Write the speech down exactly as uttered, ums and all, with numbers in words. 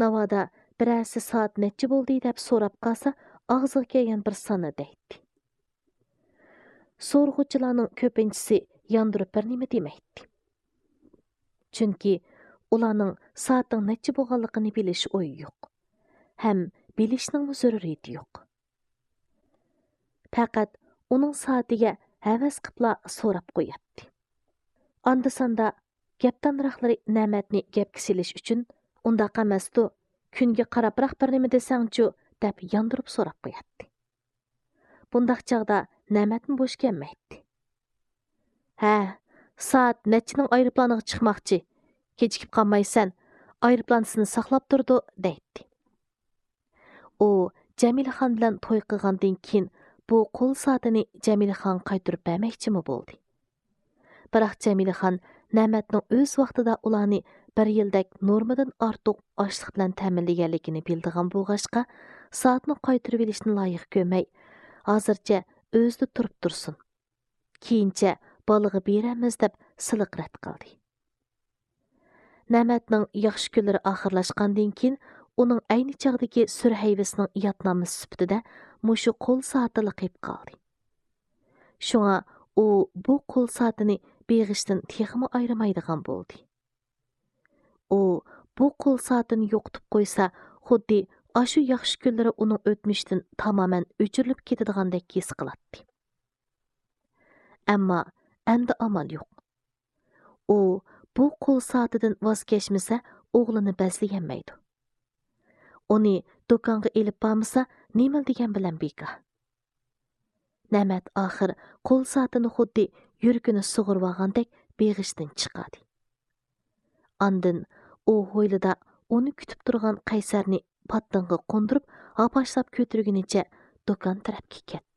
ناۋادا بىرەرسى سائەت نەچچە بولدى دەپ سوراپ قالسا، ئاغزىغا كەلگەن بىر ساننى دەيتتى. سورىغۇچىلارنىڭ كۆپىنچىسى ياندۇرۇپ بىر نېمە دېمەيتتى. چۈنكى ئۇلارنىڭ سائەتنىڭ نەچچە بولغانلىقىنى بىلىش ئويى يوق. ھەم بىلىشنىڭمۇ زۆرۈرىيىتى يوق. پەقەت ئۇنىڭ سائىتىگە ھەۋەس قىپلا سوراپ قوياتتى. ئاندا-ساندا گەپدانراقلىرى نەمەتنى گەپكە سېلىش ئۈچۈن، «ئۇنداق ئەمەستۇ، كۈنگە قاراپراق بىر نېمە دېسەڭچۇ؟» دەپ ياندۇرۇپ سوراپ قوياتتى. بۇنداق چاغدا نەمەتمۇ بوش كەلمەيتتى. «ھە، سائەت نەچچىنىڭ ئايروپىلانىغا چىقماقچى؟ كېچىكىپ قالمايسەن، ئايروپىلان سېنى ساقلاپ تۇرىدۇ» دەيتتى. ئۇ جەمىلىخان بىلەن توي قىلغاندىن كېيىن بۇ قول سائىتىنى جەمىلىخانغا قايتۇرۇپ بەرمەكچىمۇ بولدى. بىراق جەمىلىخان نەمەتنىڭ ئۆز ۋاقتىدا ئۇلارنى بىر يىلدەك نورمىدىن ئارتۇق ئاشلىق بىلەن تەمىنلىگەنلىكىنى بىلىدىغان بولغاچقا، سائەتنى قايتۇرۇۋېلىشنى لايىق كۆرمەي، ھازىرچە ئۆزىدە تۇرۇپ تۇرسۇن، كېيىنچە بالىغا بېرەرمىز دەپ سىلىق رەت قىلدى. نەمەتنىڭ ياخشى كۈنلىرى ئاخىرلاشقاندىن كېيىن، ئۇنىڭ ئەينى چاغدىكى سۈر ھەيۋىسىنىڭ يادنامىسى سۈپىتىدە مۇشۇ قول سائىتىلا قېلىپ قالدى. شۇڭا ئۇ بۇ قول سائىتىنى بېغىشتىن تېخىمۇ ئايرىمايدىغان بولدى. ئۇ بۇ قول سائىتىنى يوقىتىپ قويسا، خۇددى ئاشۇ ياخشى كۈنلىرى ئۇنىڭ ئۆتمۈشىدىن تامامەن ئۆچۈرۈلۈپ كېتىدىغاندەك ھېس قىلاتتى. ئەمما ئەمدى ئامال يوق. ئۇ بۇ قول سائىتىدىن ۋاز كەچمىسە، ئوغلىنى بەزلىيەلمەيدۇ. ئۇنى دۇكانغا ئېلىپ بارمىسا، نېمىلا دېگەن بىلەن بىكار. نەمەت ئاخىر قول سائىتىنى خۇددى يۈرىكىنى سۇغۇرۇۋالغاندەك بېغىشتىن چىقاردى. ئاندىن ئۇ ھويلىدا ئۇنى كۈتۈپ تۇرغان قەيسەرنى پاتتىڭغا قوندۇرۇپ، ھاپاشلاپ كۆتۈرگىنىچە دۇكان تەرەپكە كەتتى.